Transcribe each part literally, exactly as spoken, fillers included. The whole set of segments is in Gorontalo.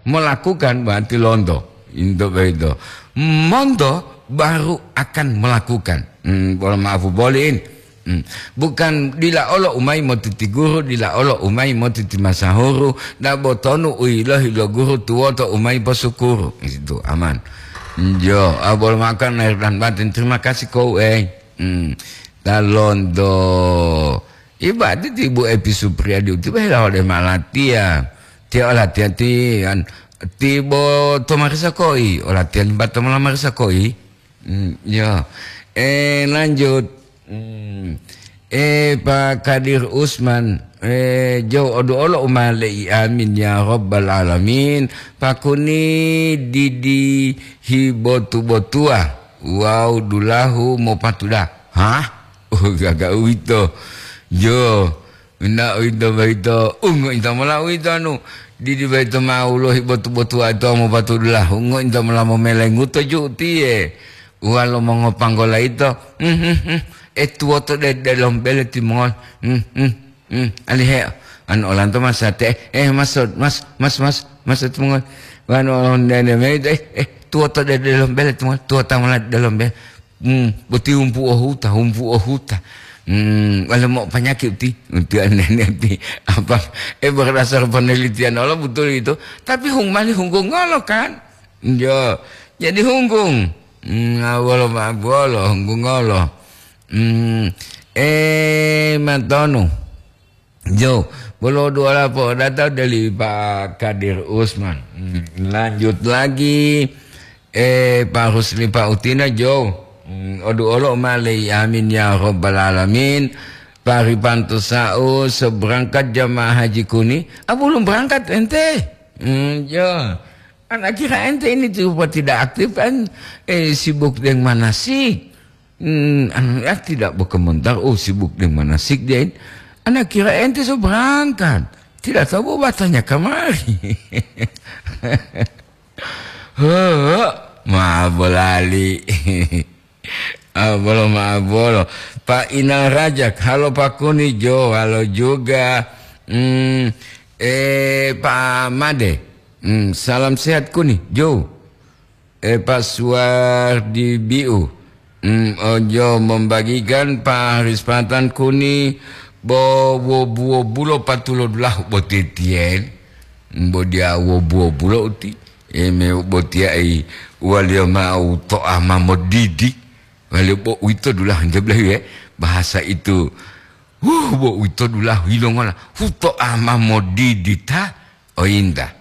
Melakukan berarti lonto. Into boyito. Monto baru akan melakukan. Hmm, bolo maafu boliin. Hmm. Bukan dila olo umai motiti guru, dila olo umai motiti masahuru, dabo tonu u yilohi lo guru tuwoto umai posukuru. Itu aman. Jo, abol makan lahir dan batin. Terima kasih kau, eh. Hmm. Talondo. Ibati ti Bu Epi Supriyadi uti bela ode malatiya. Tiya olatiya ti an, ti bo to marisa koi, olatiya limba to mola marisa koi. Hmm, ya. Eh, lanjut. Hmm. Eh, Pak Kadir Usman, eh, jo odu olo umale'i, amin ya rabbal alamin. Pakuni didi hibotu-botua. Wau dulahu mopatuda. Hah? Oh, gaga uwito. Jo, na uwito boyito, ungo ito mola uwito anu. Didi boyito ma ulohi botu-botua ito mopatudu lahu, ungo ito mola momelenguto ju utiye. Uwalo mongopanggola ito, "Hmm, hmm, hmm, e tuwoto de-, delom bele timongoli. Hmm, hmm, hmm, alihe, anu olanto masate, eh, eh, mas, mas, mas, mas, mas timongoli. Wanu nene me ito, eh, eh, tuwoto de-, delom bele timongoli, tuwota mola delom bele." Hmm, boti humpu o huta, humpu o huta. Hmm, wale mo panyakit ti, ti anene ti. Apa, eh, berdasar penelitian Allah betul itu. Tapi hung mali hunggung ngolo kan? Jo, jadi hunggung. Hmm, awolo ma bolo hunggung ngolo. Hmm, eh, matonu. Jo, bolo dua lapo data dari Pak Kadir Usman. Hmm, lanjut lagi. Eh, Pak Rusli, Pak Utina, Jo. Hmm, odu olo ma lei, amin ya rabbal alamin. Pak Ripanto Sau, seberangkat jamaah haji kuni. Ah, belum berangkat ente. Hmm, Jo. Anak kira ente ini coba tidak aktif kan? Eh, sibuk dengan manasik. Hmm, anu, ya, tidak berkomentar, "Oh, sibuk dengan manasik dia ini." Anak kira ente so berangkat. Tidak tahu bahwa tanya kamari. He, ma bolali. Ah, bolo, ma bolo. Pak Inal Rajak, halo Pak Kuni Jo, halo juga. Hmm, eh, Pak Made. Hmm, salam sehat Kuni Jo. Eh, Pak Suwardi Biu. Hmm, ojo membagikan Pak Rispatan Kuni bo wo buwo bulo patulo dulahu botitiyen. Bo dia wo buwo bulo uti. Eme botiya i waliyo ma'u to'a ma modidi. Waliyo bo uwito dulahu nte bolahiye, bahasa itu. Huh, bo uwito dulahu yilongola. Hu to'a ma modidi ta, oyinta.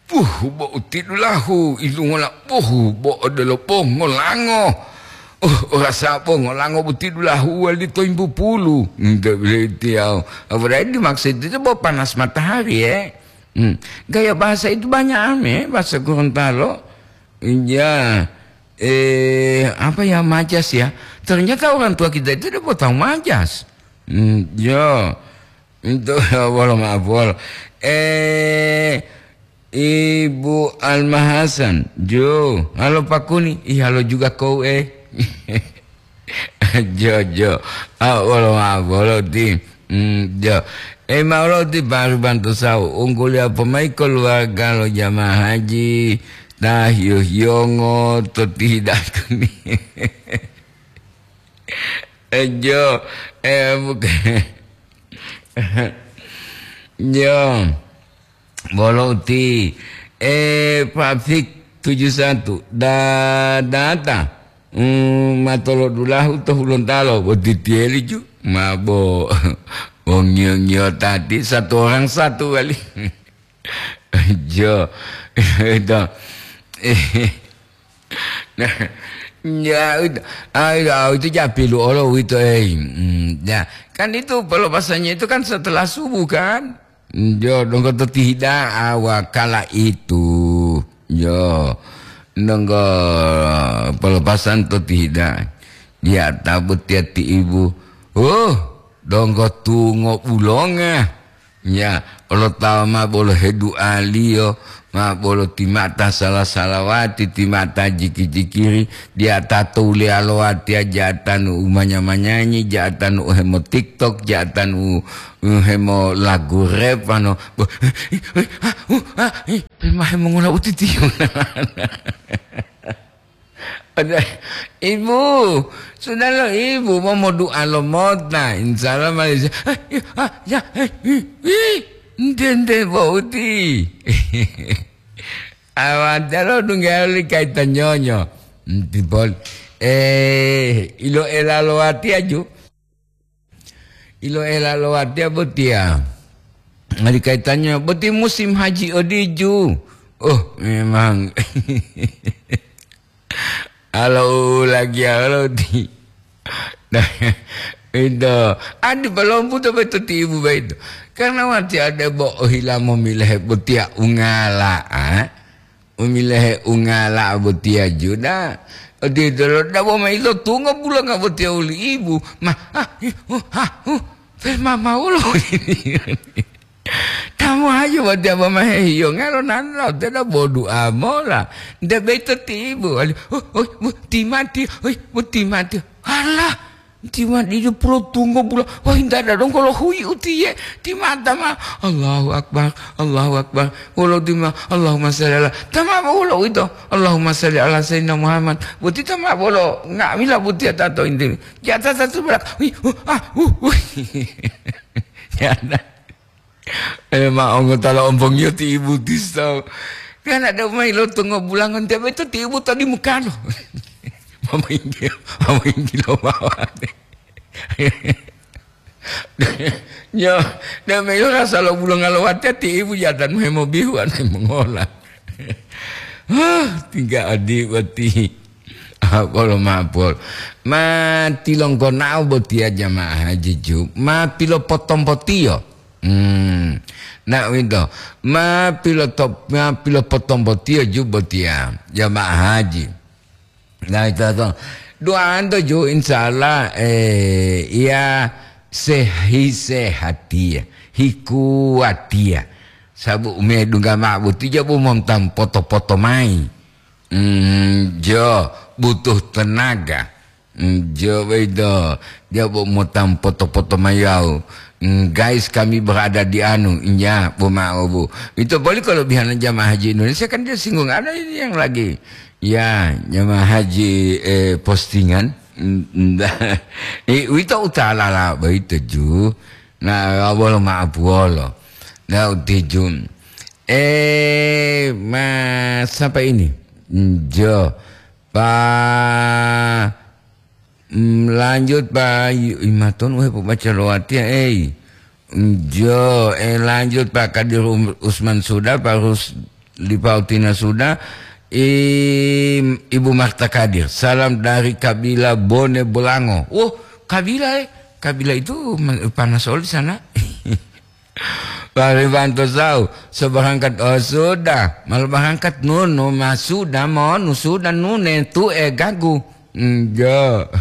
Puh, bo uti dulahu, yilongola, puh, bo odelo pongo lango. Oh, orasa pongo lango boti dulahu wali toyimbu pulu. Nte bolahiye tiyawo. Apalagi dimaksud itu bo panas matahari, ya. Hmm. Gaya bahasa itu banyak ame, bahasa Gorontalo. Iya. Eh, apa ya, majas ya? Ternyata orang tua kita itu dia tahu majas. Hmm, ya. Itu wolo maaf wolo. Eh, Ibu Alma Hasan, Jo, halo Pak Kuni, ih halo juga kau eh. Jo, Jo. Ah, wolo maaf wolo ti. Hmm, jo. Eh, ma'o loti baru bantu sau. Ungkuliya pomai keluarga lo jamaah haji ta hiyo-hiyongo to tihidaku ni. Eh, jo. Eh, bukan. Jo. Bolo uti. Eh, Pak Fik tujuh satu. Da-, data. Hmm, matolodulahu to Hulontalo, bo titiyeli ju, ma bo, bo ngiyo-ngiyo tati, satu orang satu kali. Jo, itu. Nah, ya, itu, ah, itu, ah, itu japilu olo uwito, eh. Hmm, ya, kan itu pelepasannya itu kan setelah subuh, kan? Jo, donggo to tihida'a wakala itu. Jo, donggo pelepasan to tihida'a. Dia tabut ya ti ibu. Oh, donggo tungo bulonga. Ya, olo tawa ma bolo hedu'aliyo, ma bolo timata sala-salawati, timata jiki-jikiri, dia tato uleyalowa tiya ja'atanu umanya-manyanyi, ja'atanu uhemo TikTok, ja'atanu uhemo lagu rap, ano, bo-, Mahe mongola utitiyo. Ada, "Ibu, sudah lo Ibu mau, mau doa lo mota, insya Allah Malaysia." "Ah, iya, ah, ya, eh, ih, ih, ente, ente, boti." Awatelo dungga li kaita nyonyo. Ntipol, eh, ilo ela lo watiya ju. Ilo ela lo watiya botiya. Ngadi kaitannya, boti musim haji odiju. Oh, memang. Alo lagi alo di. Nah, itu. Adi palompu to beto ti ibu baito. Karena wati ada bo ohila momilehe botiya ungala, ah. Umilehe ungala botiya ju da. Odito lo dabo ma ilo tungo bulanga botiya uli ibu. Ma, ah, ih, uh, ah, uh, pe ma, ma wolo. Tamu aja botiya bo ma hehiyo ngalo nan lo te da bodu amola. Nde beto ti ibu. Ali, oh, oh, bu, timati, oh, bu, timati. Alah, Timan ijo pulo tunggo bula, wah, inta dadong kolo hui utiye, timata ma, Allahu Akbar, Allahu Akbar, wolo tima, Allahumma shalli ala, tama wolo ito, Allahumma shalli ala Sayyidina Muhammad, boti tama wolo, nga'amila boti atato inti, jata satu belak, wih, uh, ah, uh, uh, ya, Eh, ma ongo tala ompongiyo ti ibu tiso. Kan ada umai lo tungo bulangon tiap itu ti ibu tadi mukano. Mama inggil, mama inggil lo mawate. Nyo, dan melo rasa lo bulong alawate ti ibu jatan memo bihu anai mengola. Huh, tinggal adi boti. Apolo mapol. Ma tilongkonao botiya jamaah haji ju. Ma pilopotompotiyo. Hmm. Na uwito, ma piloto-, ma pilopotombotiyo ju botiya, jamaah haji. Na ito to, duanto ju, insya Allah, eh, iya sehi-, sehatiya, hikuwatiya. Sabu umedungga ma'o boti jabu montam poto-poto mayi. Hmm, jo, butuh tenaga. Mm, jo, boyito, dia bo motang poto-poto mayau. Mm, guys, kami berada di anu, nya, bo ma'o, Bu. Ito boli kelebihan jamaah haji Indonesia, kan dia singgung, ada ini yang lagi, ya, jamaah haji, eh, postingan. Mm, mm, eh, uwito utalala boyito ju. Nah, wolo ma'o puwolo. Nah, utiju. Eh, Mas, siapa ini? Mm, jo. Pa, mm, lanjut, Pa, yu-, imaton, weh, pobaca lo watiya, ei. Mm, jo, eh, lanjut, Pak Kadir Um-, Usman sudah, Pak Rusli Pautina sudah, Im-, Ibu Marta Kadir. Salam dari Kabila Bone Bolango. Oh, Kabila, eh. Kabila itu me-, panas oli sana. Paribanto sau, so barangkat, oh, sudah, malah barangkat nunu, ma sudah, monu sudah, nune, tu'e, gagu. Enggak.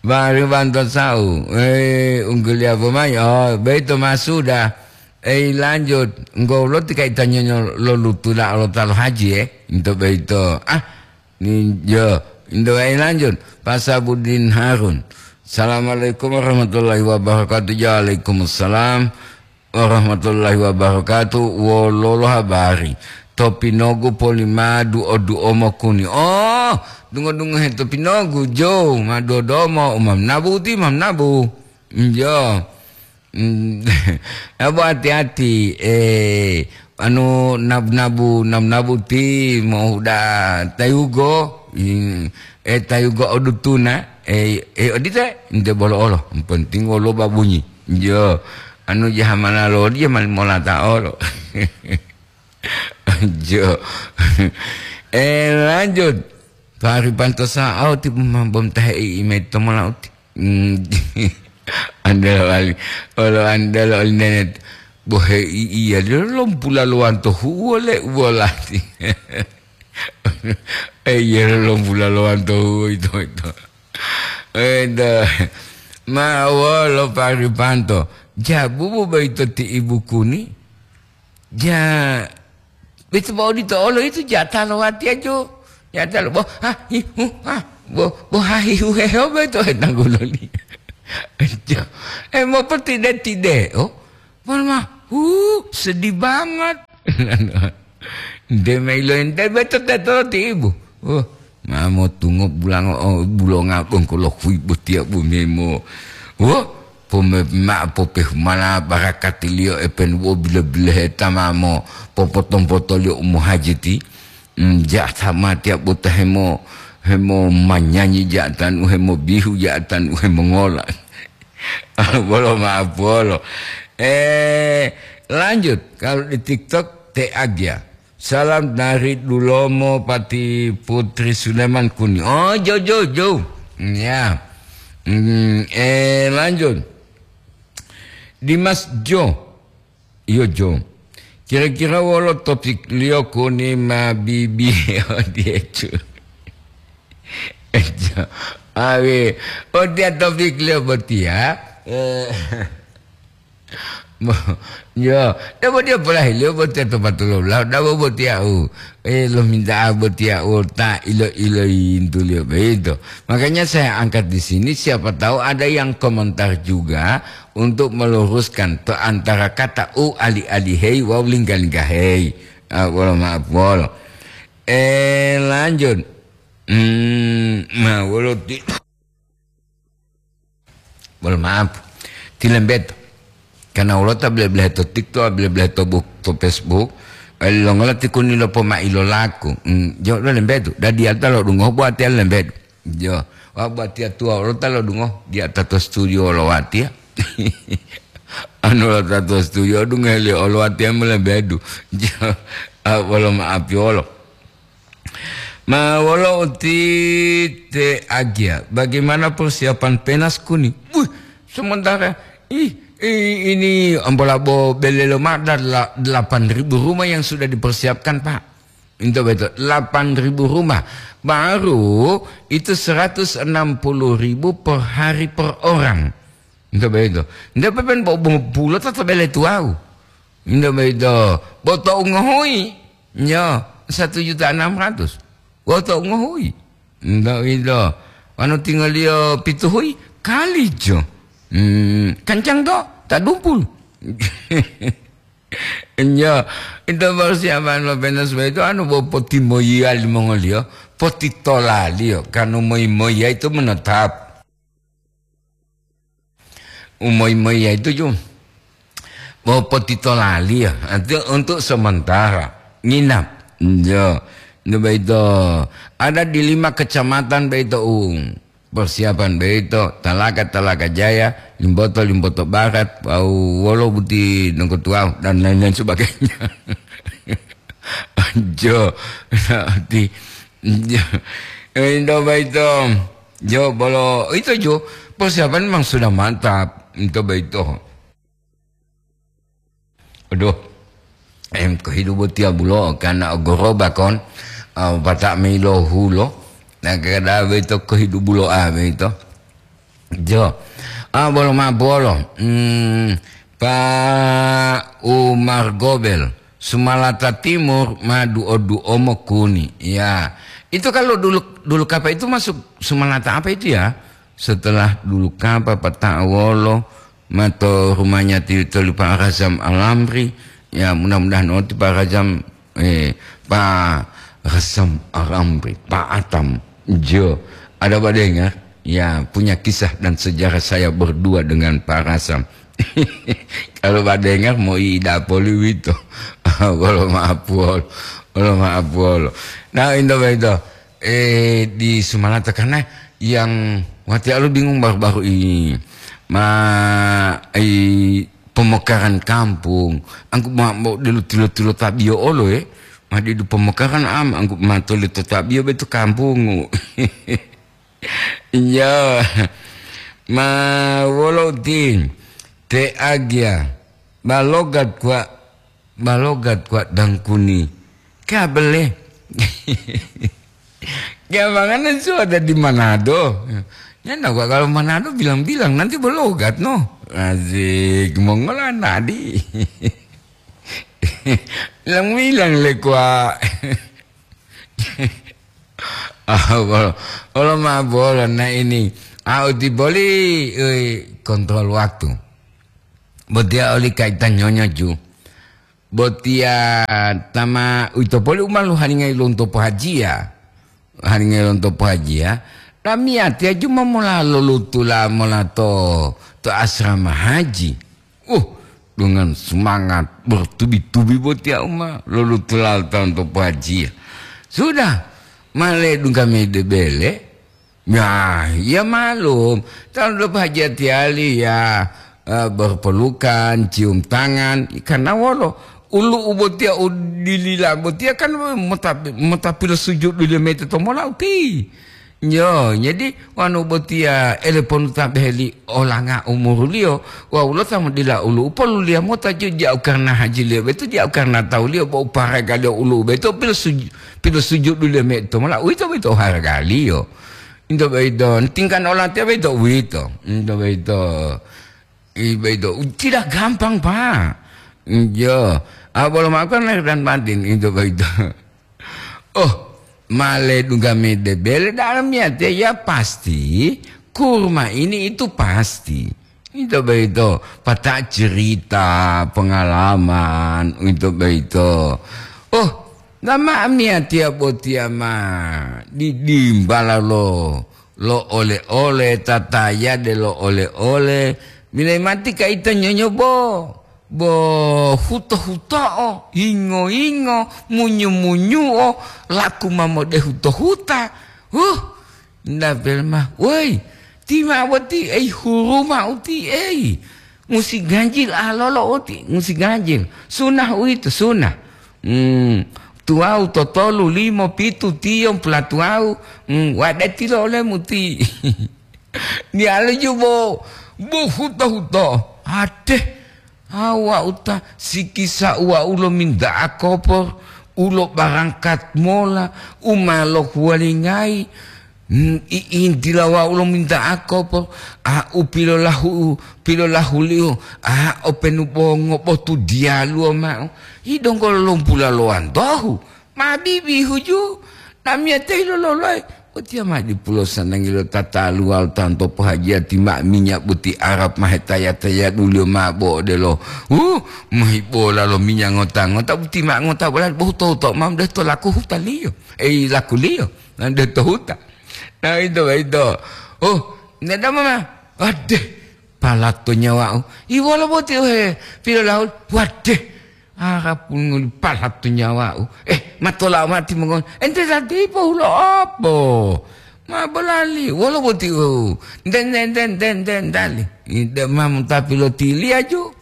Paribanto sau, eh, unggul ya pemain, oh, beto ma sudah. Eh, lanjut, enggak ulo tika itanya lo lutula lo talo haji, eh, untuk beto. Ah, Ninjo, Indo wa'i lanjut, Pak Sabudin Harun. Assalamualaikum warahmatullahi wabarakatuh. Waalaikumsalam warahmatullahi wabarakatuh. Wololo habari? To Pinogu poli ma duo-duo mokuni. Oh, dungo-dungo he to Pinogu, jo, ma duo-duo mo, umam nabu ti, mam nabu. Njo. Mm, abo hati-hati, eh, anu, nab-, nabu, nab-, nabu ti mohuda tayugo, mm, eh, tayugo odutuna, eh, eh, odite, nte bolo olo, penting wolo babunyi. Jo, anu jahamana lo, dia mal-, molata olo. Jo. Eh, lanjut. Pari pantosa au ti bom, bom tahe i, i mai tomola uti. Hmm. Andelo ali. Olo andelo ali nenet. Bohe i, iya, dia lompula lowanto huwo le uwo lati. Eh, iya, lompula lowanto huwo ito, ito. Eda. Ma wolo Pari Panto. Jabubu boyito ti ibu kuni. Ja, itu bo odito olo itu jata lo watiya jo. Jata lo, bo, ha, hi, hu, ha, bo, bo, ha, hi, hu, he, ho, beto, he, tangguloli. Jo. Eh, mau pertide-tide, oh. Mon ma, hu, sedih banget. Nde ma ilointe beto tetolo ti ibu. Oh, ma motungo bulango, oh, bulonga bongko lo hui botiya bu memo. Oh, pome-, ma popehumala barakatiliyo epenu bo bile-bileheta mamo popotompotoliyo umohajiti. Mm, ja tamatiya bota hemo, hemo manyanyi ja tanu, hemo bihu ja tanu, hemo ngola. Bolo maaf bolo. Eh, lanjut. Kalau di TikTok, T A G ya. Salam dari Dulomo Pati Putri Suleman Kuni. Oh, jauh, jauh, jauh. Ya. Hmm, eh, lanjut. Dimas Jo. Iyo, Jo. Kira-kira wolo topikliyo Kuni ma bibi odiecu? Jo. Awe, otiya topikliyo botiya. Eh. Mo-, yo, debo dia polahiliyo botiya to patulola, dabo botiya u, eh, lominta'a botiya u ta ilo-iloyintuliyo boyito. Makanya saya angkat di sini, siapa tahu ada yang komentar juga untuk meluruskan to antara kata u ali-alihei wawu lingga-linggahei. Ah, wolo maaf, wolo. Eh, lanjut. Hmm, ma wolo ti-, Mohon maaf, tilembeto. Karena wolo ta bele-belehe to TikTok, bele-belehe to buk-, to Facebook, eh, longola ti Kuni lopomailo laku. Hmm, jo, lo lembedu. Dadi ata lo dungo, buat ya lembedu. Jo, wa buat ya tua, lo ta lo dungo, dia ta to studio lo watia. Anu lo ta to studio, dungo le lo watia mo lembedu. Jo, ah, wolo maaf yolo. Ma wolo uti te agia, bagaimana persiapan penas Kuni? Wih, sementara, ih, ih, ini ambola bo belelo ma dala-, delapan ribu rumah yang sudah dipersiapkan, Pak. Itu betul, delapan ribu rumah. Baru itu seratus enam puluh ribu per hari per orang. Nto boyito. Nto pepen bo-, bo-, bulo tato bele tuwawu. Nto boyito. Bo to'u ngohuyi. Nyo, satu juta enam ratus. Bo to'u ngohuyi. Nto ito. Wanu tingoliyo pituhuyi, kalijo. Hmm, kancang to, ta dumpul. Nyo, ito baru siapa lo penas boyito, anu bo potimoyiya limongoliyo, potitolaliyo, kanu moyi-moyiya itu menetap. Umoyi-moyi yaitu ju. Bo potitolali ya, artinya untuk sementara nginap. Yo, itu baito. Ada di lima kecamatan baito, u, persiapan baito, Talaga, Talaga Jaya, Limboto, Limboto Barat, wawu wolo buti nongkotuwau, dan lain-lain sebagainya. Jo, nanti, jo, itu baito. Jo, bolo, itu jo, persiapan memang sudah mantap. Itu baito. Aduh, em, kehidupan tiap bulo, karena goroba kon, ah, batak milo hulo, nah, kada baito kehidup bulo, ah, baito. Jo. Ah, bolo ma bolo. Hmm, Pak Umar Gobel, Sumalata Timur ma duo-duo mokuni. Ya. Itu kalau dulu, dulu kapa itu masuk Sumalata apa itu ya? Setelah dulu kapa, Pak Ta'wolo, ma to rumahnya ti, toli Pak Razam Alamri. Ya, mudah-mudahan oti Pak Razam, eh, Pak Razam Alamri, Pak Atam. Jo, ada Pak dengar? Ya, punya kisah dan sejarah saya berdua dengan Pak Rasam. Kalau Pak dengar, mau ida poli wito. Bolo maaf, wol. Bolo maaf, wol. Nah, indo itu. Eh, di Sumalata, karena yang wati alu bingung baru-baru ini. Ma, i, pemekaran kampung. Angku ma, ma, dulu tilo-tilo tabio olo, eh. Ma didu pemekaran am, angku ma toli to tabio betu kampung. Iya. Ma wolo ti te agia. Balogat kwa, balogat kwa dangkuni. Kabele. Gabangan itu ada di Manado. Ya, enggak, Pak, kalau Manado bilang-bilang, nanti balogat, no. Asik, mongolan tadi. Bilang-bilang le, kwa. Ah, bolo, bolo ma bolo, nah ini. Ah, uti boli, eh, kontrol waktu. Botia oli kaitan nyonya ju. Botiya tama uwito poli u ma lohalingayi lonto pohajiya. Halingayi lonto pohajiya, lamiyatiya juma mola lolutula mola to, to asrama haji. Uh, dengan semangat bertubi-tubi botiya u ma lolutula lonto pohajiya. Sudah, ma ledungga mayi de bele, Ya, ya malum. Talu do pajatiyali ya, eh, berpelukan, cium tangan. Karena wolo, ulu'u botiya u dilila botiya kan mota-, mota pilosujudu limete to mola uti. Yo, jadi wanu botiya eleponu tabeheli olanga umuruliyo, wawu lo ta modila ulu'u poluliya mota ju ja'u karena hajiliyo betu, ja'u karena tawuliyo bo u paragaliyo ulu'u betu pilosuju-, pilosujudu limete to mola, uwito boyito oharagaliyo. Into boyito, tingkana olatiya boyito uwito. Into boyito, i boyito, tidak gampang, Pak. Iyo. Ah, bolo ma'o kan lahir dan batin, into boyito. Oh, ma ledungga mayi de bele da'a lamiyatiya, ya pasti, kurma ini itu pasti. Into boyito, pata cerita, pengalaman, into boyito. Oh, Dama amiyatiya botiya ma didimbala lo, lo ole-ole, tatayade lo ole-ole, bilayi mati kayita nyonyobo, bo huto-huto'o, yingo-yingo, munyu-munyu'o, laku ma modehu to huta. Huh, Nda Belma, woi, ti ma boti ei huruma uti ei. Musi ganjil alolo uti, musi ganjil. Sunah uwito, sunah. Hmm, tuwawu totolu, limo, pitu, tiyo, pulatuwawu. Hmm, wadati lo olemu ti. Diyalu jubo, bo huto-huto. Ate, Awa'u ta sikisa wa'u lominta'a kopor u lobarangkat mola u ma lohuwalingayi. Hmm, i-, intila wa'u lominta'a kopor, a u pilolahu-, pilolahuliyo, a openu bo ngobotu diyaluwo ma'o, yidonggo lombula lowantohu. Ma bibihu ju, namiyateyi lololoyi. Botiya ma dipulo sanangi lo tataluwa lo tanto pohajiyati ma minya boti Arab ma hetaya-tayaduliyo ma bo odelo, uh, mahibola lo minya ngota-ngota, boti ma ngota bola bohu to-, to ma mdeto laku hutaliyo. Ei, lakuliyo, na mdeto huta. Na ito, ito. Oh, nedama ma. Adeh, palato nyawa'u. Iwolo boti uhe pilolahul. Wadeh, Arapun ngoli palato nyawa'u. Eh, matola mati mongoli. Ente ta dipo hulo opo? Ma bolali, wolo boti u. Den, den, den, den, den, dali. Ide ma mutapi lo tiliya ju.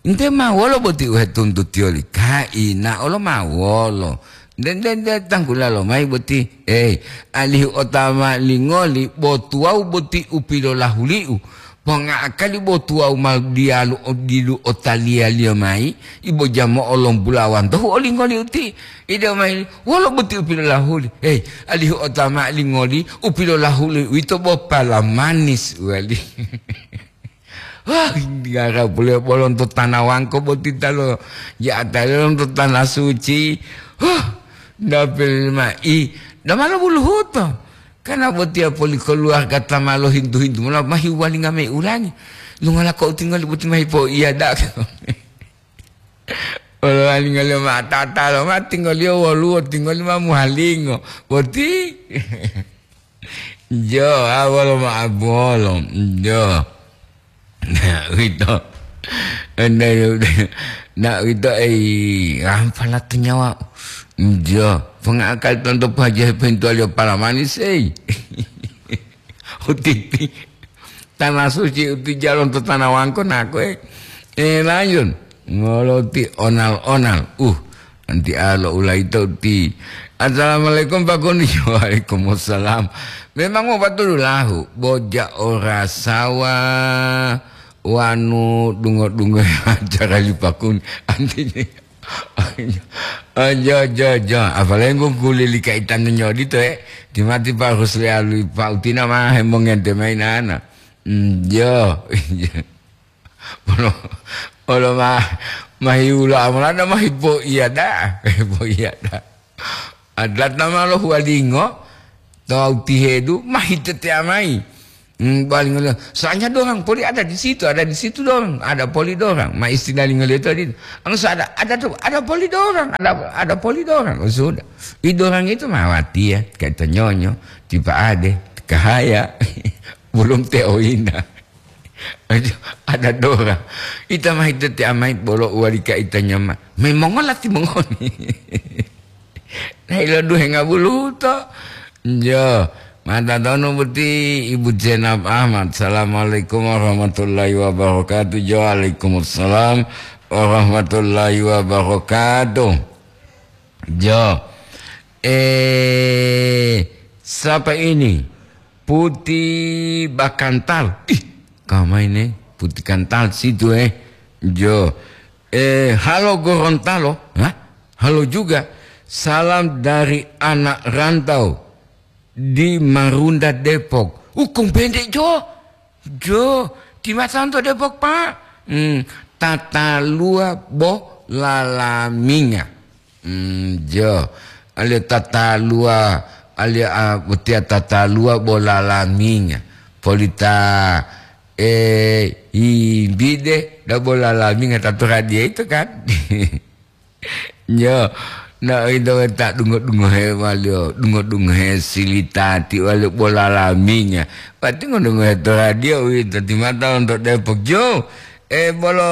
Ente ma wolo boti u hetuntutiyoli. Kaina olo ma wolo. Den, den, den, tanggula lomayi boti. Eh, alihu otama lingoli, bo tuwawu boti u pilolahuli'u. Ponga'akali bo tuwawu ma diyalu o-, didu otaliyaliyo mayi, ibo jamo'o lombulawantohu olingoliyo ti. Ide mayi, wolo boti u pilolahuli? Hei, alihu otama lingoli, u pilolahuli uwito bo pala manis wali. Wah, ngara pule bolonto tana wangko boti talo, ya atale lonto tana suci. Huh, dapil mai, damalo buluhuto. Kana botiya poli koluwarga ta ma lohintu-hintu mola ma hiwalinga mayi ulangi. Lungola ko utingoli boti ma hipoiya da'a. Olo walinga liyo ma tata lo ma tingoliyo woluwo tingoli ma muhalingo. Boti. Jo, a wolo ma abuwolo. Jo. Na uwito. Enda, na uwito ei, rampa latu nyawa. Jo, pengakali tonto paja pintu alio pala manis, ei. Utiti. Tanah suci uti jalon to tanah wangko nako, eh. Eh, lanjut. Ngoloti onal-onal. Uh, Nanti alo ulaito ti. Assalamualaikum, Pak Kuni. Waalaikumsalam. Memang mau patudu lahu, boja orasawa wanu dungo-dungo acara li Pak Kuni. Antinya. Aja, aja, aja. Apalagi nggo kulili kaitan nyodi to, eh. Timati Pak Rusli alui Pak Utina mah hemongente mainana. Hmm, jo. Olo, olo ma, mahiulo amolada mahipoiya da'a, mahipoiya da'a. Adata ma lo huwalingo, to tihedu, mahitetea mayi. Hmm, balingoliyo. Soalnya dorang poli ada di situ, ada di situ dorang, ada poli dorang. Ma istilah lingoliyo tadi. Anu sa ada, ada tu, ada poli dorang, ada, ada poli dorang. Oh, sudah. I dorang itu mawati ya, kata nyonyo, tipa ade, kahaya, belum teoina. Aduh, ada dorang. Ita mai tete amai bolo uwali ka ita nyama. Memang lati mengoni. Nah, ilo duhe ngabuluto. Jo, mata tonu boti Ibu Zainab Ahmad. Assalamualaikum warahmatullahi wabarakatuh. Jo, waalaikumsalam warahmatullahi wabarakatuh. Jo. Eh, siapa ini? Putih Bakantal. Ih, kamai ne Putih Kantal situ, eh. Jo. Eh, halo Gorontalo. Hah? Halo juga. Salam dari anak rantau di Marunda, Depok. Ukung pendek, Jo. Jo, di masa untuk Depok, Pak. Hmm, tata lua bo lalaminga. Hmm, jo. Alia tata lua, alia, ah, utia tata lua bo lalaminga. Polita, eh, himbide da bo lalaminga tatu radia itu kan. Nyo, na ito ta dungo-dungohe walio, dungo-dungohe silitati walio bola laminya. Pati ngodungohe to radio uwito ti mata lonto Depok. Jo, eh, bolo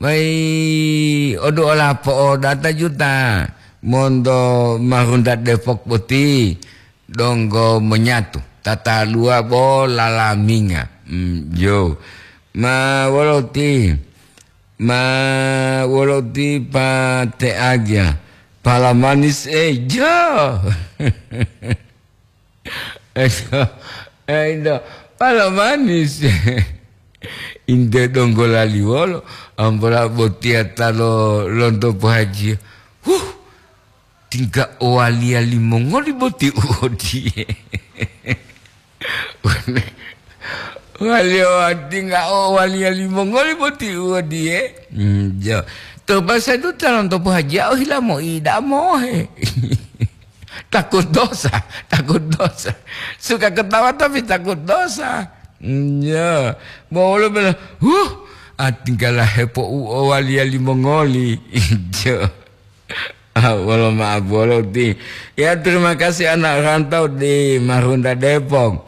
mai odu ola po'odata juta monto Marunda Depok boti. Donggo monyatu, tatalua bo lalaminga. Hmm, jo. Ma wolo ti, ma wolo ti pa te agia. Pala manis, eh, jo. Eh, indo, pala manis. Inte donggo laliwolo, ambola botia talo lonto pohaji. Huh, tingga owaliya limongoli boti u odiye. Waliya wa-, tingga owaliya limongoli boti u odiye. Hmm, jo. To basa itu calon topo haji, ohila moida mohe. Takut dosa, takut dosa. Suka ketawa tapi takut dosa. Hmm, jo. Mau lo bilang, "Huh, ah, tinggalah hepo u owaliya limongoli." Jo. Ah, wolo maaf, wolo ti. Ya, terima kasih anak rantau di Marunda Depok.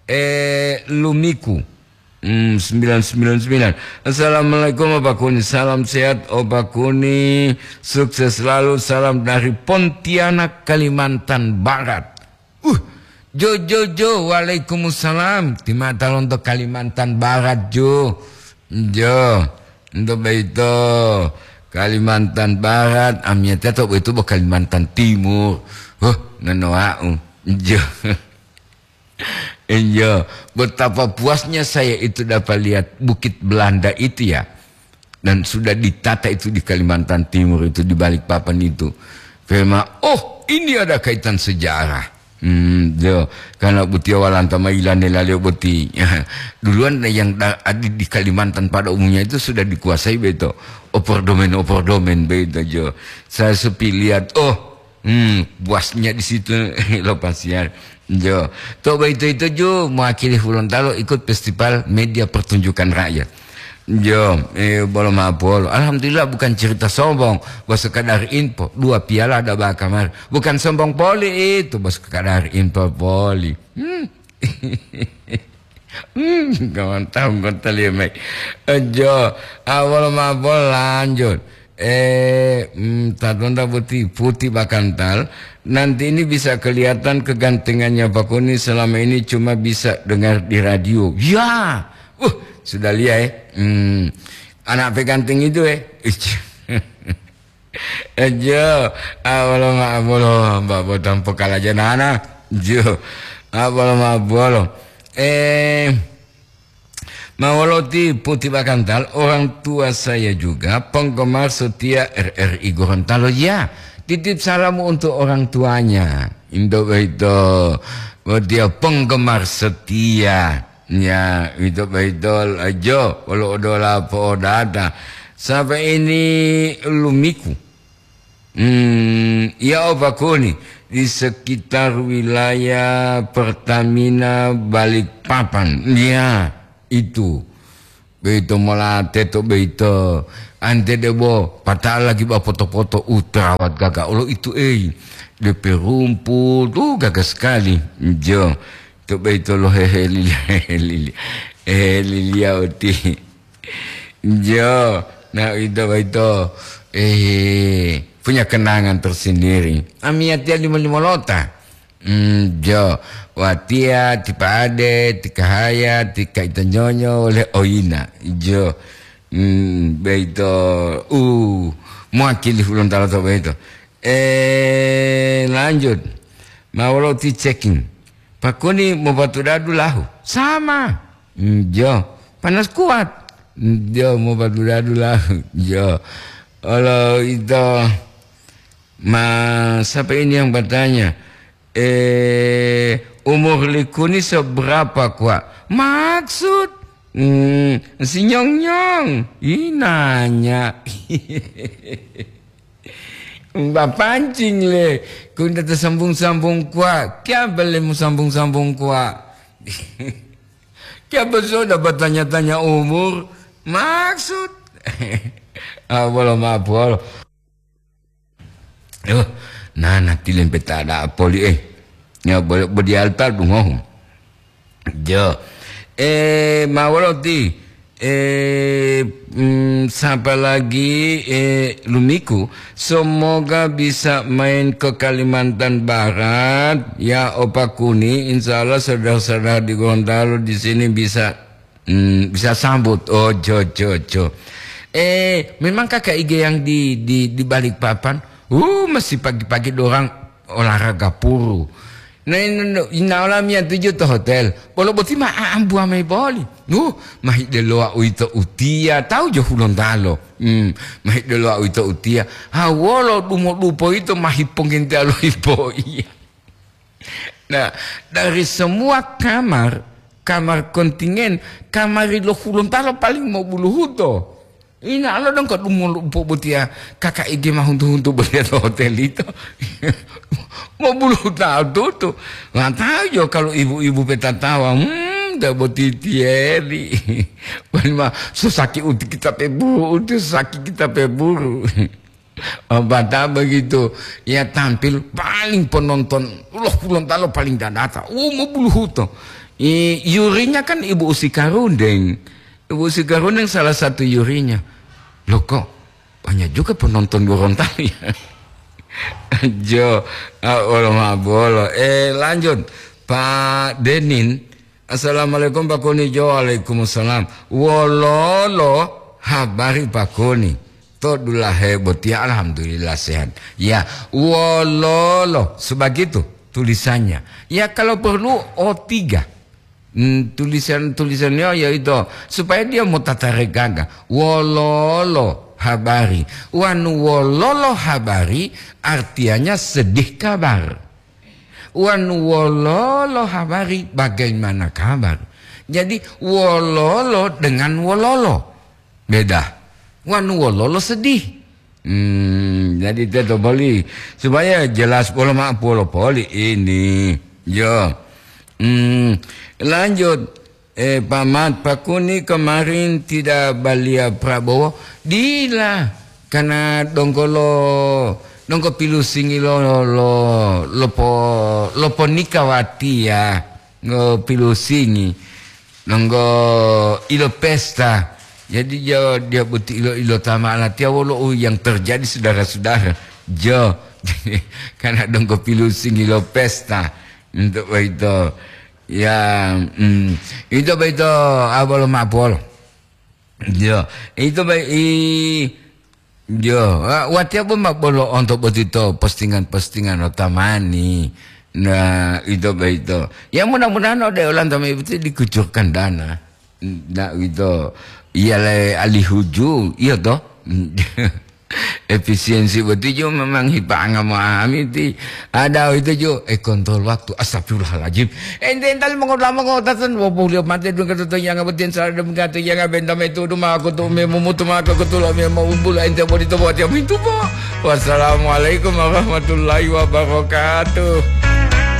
Eh, Lumiku. Hmm, sembilan sembilan sembilan. Assalamualaikum, Opa Kuni. Salam sehat, Opa Kuni. Sukses selalu. Salam dari Pontianak, Kalimantan Barat. Uh, jo, jo, jo. Waalaikumsalam. Ti mata lonto Kalimantan Barat, jo. Jo. Untuk beito Kalimantan Barat, amiyatiya to beito bo Kalimantan Timur. Huh, nanoa'u. Jo. Iya, betapa puasnya saya itu dapat lihat Bukit Belanda itu ya. Dan sudah ditata itu di Kalimantan Timur itu, di Balikpapan itu. Kema, oh, ini ada kaitan sejarah. Hmm, jo, karena butiya walanta mailane laleo boti. Duluan yang da-, adi di Kalimantan pada umumnya itu sudah dikuasai beto. Opordomen-opordomen beto, jo. Saya sepi lihat, oh, hmm, puasnya di situ lepas ya. Jo. To boyito-yito ju mewakili Hulontalo ikut festival media pertunjukan rakyat. Jo, eh, bolo ma'apolo. Alhamdulillah bukan cerita sombong. Bos sekadar info, dua piala ada bakar kamar. Bukan sombong poli itu, bos sekadar info poli. Hmm. Hmm, kawan tahu kota lima. Jo, awal ma'apolo lanjut. Eh, mm, tatonda putih, putih bakantal. Nanti ini bisa kelihatan kegantengannya Pak Kuni, selama ini cuma bisa dengar di radio. Ya, uh, sudah lihat, eh. Hmm, anak peganting itu, eh. Eh, jo, abolo ma abolo, Mbak Botang pokal aja nana. Jo, abolo ma abolo. Eh, Mawoloti Puti Bakantal, orang tua saya juga penggemar setia R R I Gorontalo. Ya, titip salam untuk orang tuanya. Indo baito, dia penggemar setia. Ya, itu baito ajo, walau odola po'odata. Sampai ini lumiku. Hmm, ya, Opa Kuni. di sekitar wilayah Pertamina Balikpapan. Ya, itu. Beito mola teto beito. Ante debo, patala lagi ba poto-poto, uh, terawat gaga olo itu, ei. Depe rumput, uh, gaga sekali. Jo. To beito lo heheli, heheli, heheli liya uti. Jo, nah, ito, ito, eh, punya kenangan tersendiri. Amiyatiya limo-limo lota. Hmm, jo, watiya, ti pa'ade, ti kahaya, ti kaita nyonyo, wole oyina. Jo, hmm, beito, uh, mewakili Hulontalo to beito. Eh, lanjut. Ma wolo ti checking. Pakuni mopatudadu lahu. Sama. Njo. Panas kuat. Njo, mopatudadu lahu. Njo. Olo ito. Ma, siapa ini yang bertanya? Eh, umur likuni seberapa, Kwa? Maksud? Hmm, si nyong-nyong. Inanya. Bapancing le, kunda ta sambung-sambung kuwa, kiyaba le mu sambung-sambung kuwa? Kiyaba soda batanya-tanya umur, maksud? Ah, bolo ma'o puwolo. Yo, nana tilempe ta da'a poli, eh. Ya, bo-, bodi alta dungohu. Jo. Eh, ma wolo ti? Eh, mm, sapa lagi, eh, lumiku? Semoga bisa main ke Kalimantan Barat, ya, Opa Kuni. Insya Allah saudara-saudara di Gorontalo di sini bisa, mm, bisa sambut. Oh, jo, jo, jo. Eh, memang Kakak Ige yang di, di, di Balikpapan? Uh, masih pagi-pagi dorang olahraga puru. Na, na, na, na olamiyatiya to hotel. Bolo boti ma aambuwa mayi boli. Uh, mahi delowa uwito utiya, tawu jo Hulontalo. Hmm, mahi delowa uwito utiya. Ha, wolo dumodupo yito mahi pongintelo hipoiya. Nah, dari semua kamar, kamar kontingen, kamari lo Hulontalo paling mobuluhuto. Ina lo dongko dumolu pobotiya, Kakak Ige ma huntu-huntu botiya to hotel ito. Mobuluhuta tutu. Nggak tahu jo kalau ibu-ibu petatawa, hmm, ndak boti tiyeri. Wali ma, susaki uti kita peburu, uti susaki kita peburu. Oh, bata begitu. Ya, tampil paling penonton, loh, Hulontalo paling dadata. Oh, mobuluhuto. I, yurinya kan Ibu Usi Karundeng. Ibu Usi Karundeng salah satu yurinya. Loh, kok banyak juga penonton Gorontalo ya? Jo, ah, bolo ma bolo. Eh, lanjut. Pak Denin, Assalamualaikum, Pak Kuni. Jo, waalaikumsalam. Wololo habari, Pak Kuni? To dulahe botiya, alhamdulillah, sehat. Ya, wololo, sebegitu tulisannya. Ya, kalau perlu, O tiga. Hmm, tulisan-tulisannya yaitu supaya dia mau tata regaga. Wololo habari. Wanu wololo habari, artinya sedih kabar. Wanu wololo habari, bagaimana kabar? Jadi, wololo dengan wololo. Beda. Wanu wololo sedih. Hmm, jadi teto boli. Supaya jelas polo ma polo poli ini. Yo. Hmm, lanjut. Eh, Pak Mat, Pak Kuni kemarin tidak balia Prabowo? Dila, karena dongko lo, dongko pilusingi lo, lo, lo po, lo ponika watiya, ngo pilusingi, dongko ilo pesta. Jadi dia, dia boti ilo, ilo tama latiya wolo u yang terjadi, saudara-saudara. Jo, karena dongko pilusingi lo pesta. Untuk itu. Ya, mm, ito boyito, ah, bolo ma'o polo. Yo, ito boy-, i, yo, ah, watiya bo ma bolo onto botito postingan-postingan lo tamani. Nah, ito boyito. Ya, mudah-mudahan ode olanto mayi boti dikucurkan dana. Nah, ito. Iya le alihuju, iya toh? Efisiensi boti ju memang hipa'anga mo'amiti. Ada itu ju, eh, kontrol waktu. Astagfirullahaladzim. Ente ental mengota-mengota ten, wabulio mate dun kata to yanga boti en salah dun kata yanga benta metu duma aku tu me mumutu maka aku tu lo me mau bula ente bodi to buat yang mintu po. Wassalamualaikum warahmatullahi wabarakatuh.